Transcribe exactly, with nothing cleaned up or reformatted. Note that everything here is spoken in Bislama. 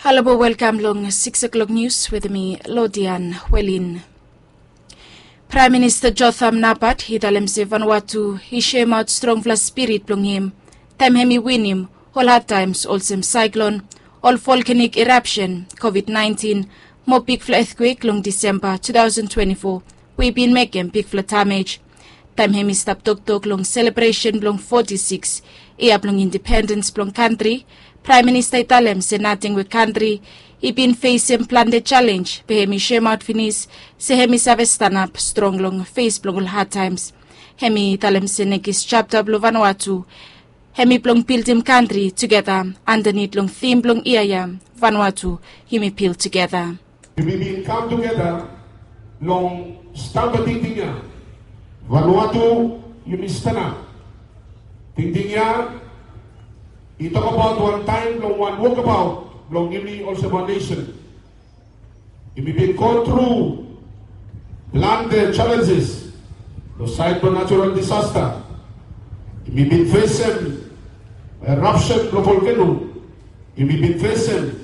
Halo, welkam long six o'clock news with me, Lodian Welin. Praem Minista Jotham Napat i talem se Vanuatu i soemaot strongfala spirit blong hem taem hem i winim ol hadtaems olsem saeklon, ol volkanik erapsen, COVID nineteen, mo bigfala etkwek long Disemba two thousand twenty-four we i bin mekem bigfala damej. Taem hem i stap toktok long selebresen blong forty-six yia blong independens blong kantri, Praem Minista i talem se nating we kantri i bin fesem plante jalenj, be hem i soemaot finis se hem i save stanap strong long fes blong ol hadtaems. Hem i talem se nekis japta blong Vanuatu hem i blong bildim kantri tugeta andanit long tim blong yia ya, Vanuatu, yumi bil tugeta. Yumi bin kam tugeta long stamba tingting ya. Vanuatu, yumi stanap. Tingting ya i tokbaot wan taem blong wan wokbaot blong yumi olsem wan nesen. Yumi bin go tru plante jalenjes long saed blong natural disasta. Yumi bin fesem erapsen blong volkeno. Yumi bin fesem